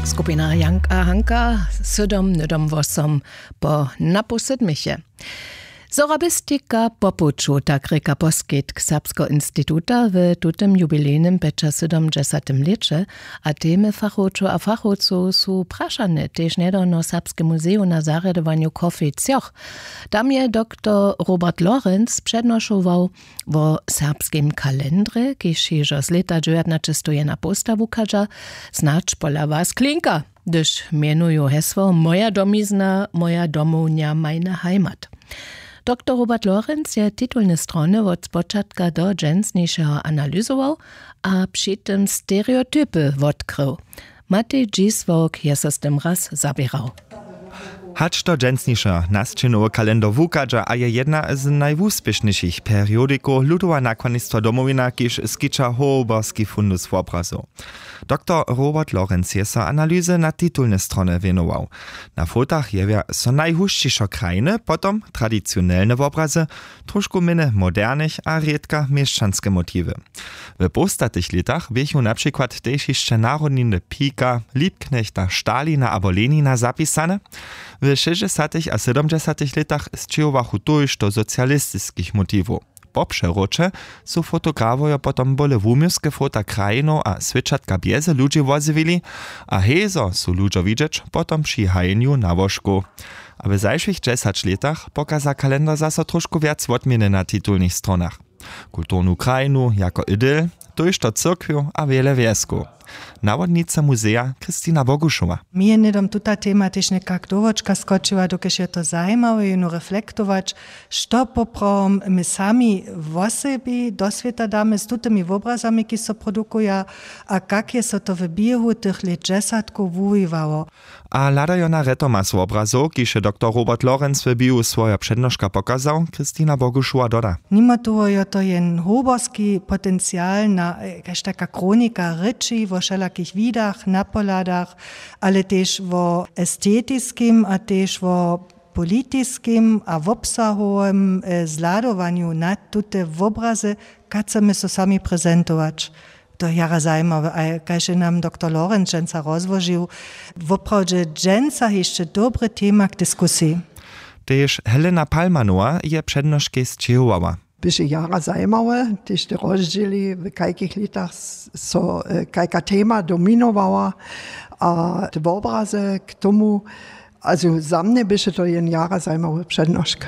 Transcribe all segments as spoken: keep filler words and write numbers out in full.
Skupina Janka Hanka, sydom nydom wosom po napoł sydmiche. Sorabistika po puću, tak rěka poskitk Serbskeho instituta w tutym jubilejnym pjećasydomdźesatym lěće. A temy fachowčow a fachowcow su prašane tež njedawno w Serbskem muzeju na zarjadowanju Coffee Cjoch. Tam je doktor Robert Lorenz přednošował wo serbskim kalendrje, kiž hižo z lěta dźewjatnaćestowjenapołsta wuchadźa. Snadź pola was klinka, hdyž mjenuju hesło Moja domizna, moja domownja, meine Heimat. Doktor Robert Lorenz je titulne strony wot spočatka do dźensnišeho analyzował a při tym stereotypy wotkrył. Matej Dźisławk je so z tym raz zaběrał. Hač do dźensnišeho nasćinowy kalendar wuchadźa a je jedna z najwuspěšnišich periodikow ludowa nakładnistwa Domowina, kiž skića hołborski fundus wobrazow. Doktor Robert Lorenz je so analyzy na titulne strony wěnował. Na fotach jewja so najhušćišo krajiny, potom tradicionelne wobrazy, tróšku mjene modernych a rědka měšćanske motiwy. W połstatych lětach běchu na přikład tež hišće narodniny Pika, Liebknechta, Stalina abo Lenina zapisane. W šěsćdźesatych a sydomdźesatych lětach sćěhowachu tójšto socialistiskich motiwow. Po přewróće su fotografojo potom bóle wuměłske fota krajinow a swěćatka bjeze ludźi wozjewili. A hezo su ludźo widźeć potom při hajenju na łóžku. A w zašłych dźesać lětach pokaza kalendar zaso tróšku wjac wotměny na titulnych stronach: kulturnu krajinu jako idyl, tójšto cyrkwjow a wjele wjeskow. Nawodnica muzeja Kristina Bogušowa. Mi je hnydom tuta tema tež někak do wočka skočiła, dokelž je to zajimawe jónu reflektować, što poprawom my sami wosebi do swěta damy z tutymi wobrazami, kiž so produkuja, a kak je so to w běhu tych lět dźesatkow wuwiwało. A hladajo na retomas wobrazow, kiž je doktor Robert Lorenz w biju swoja přednoška pokazał, Kristina Bogušowa doda. Nimo toho jo to jen hołborski potencial na kaž taka chronika rěči wo wšelakich widach, napohladach, ale tež wo estetiskim a tež wo politiskim a wobsahowym zhladowanju na tute wobrazy, kaž chcemy so sami prezentować. To je jara zajimawe, a kaž je nam doktor Lorenc dźensa rozłožił, woprawdźe dźensa hišće dobry tema k diskusiji. Tež Helena Palmanowa je přednoškej sćěhowała. Běše jara zajimawe, tež te rozdźěli, w kajkich lětach so kajka tema dominowała, a te wobraze k tomu. Also za mnje běše to jen jara zajimawy přednošk.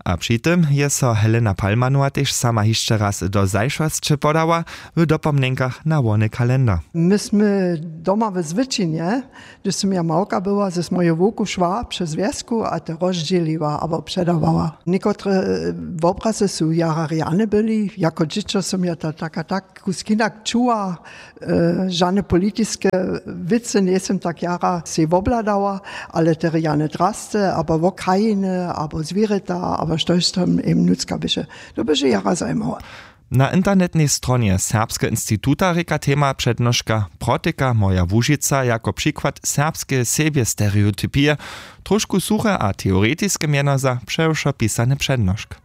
A při tym je so Helena Palmanowa tež sama hišće raz do zašłosće podała w dopomnjenkach na wony kalendar. My smy doma w zwyčinje, hdyž sym ja małka była, z moju wowku šła přez wjesku a te rozdźěliła abo předawała. Někotre wobrazy su jara rjane byli, jako dźěćo sym ja to tak a tak kusk hinak čuła. Žane politiske wěcy njejsym tak jara sej wobhladała, ale te rjane drasce abo wo krajiny abo zwěrjeta abo štož tam jim nutřka běše, to běše jara zajimawe. Na internetnej stronje Serbskeho instituta rěka tema přednoška Protyka moja Łužica jako přikład serbskeje sebjestereotypije, tróšku suche a teoretiske mjeno za přewšo pisany přednošk.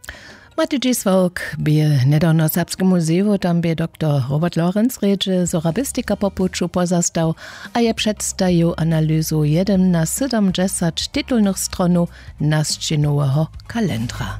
Matej Dźisławk bě hnydawno w Serbskem muzeju, tam bě doktor Robert Lorenz rědźe sorabistika po puću pozastał a je předstajił analyzu jedyn na sydomdźesać titulnych stronow nasćinoweho kalendra.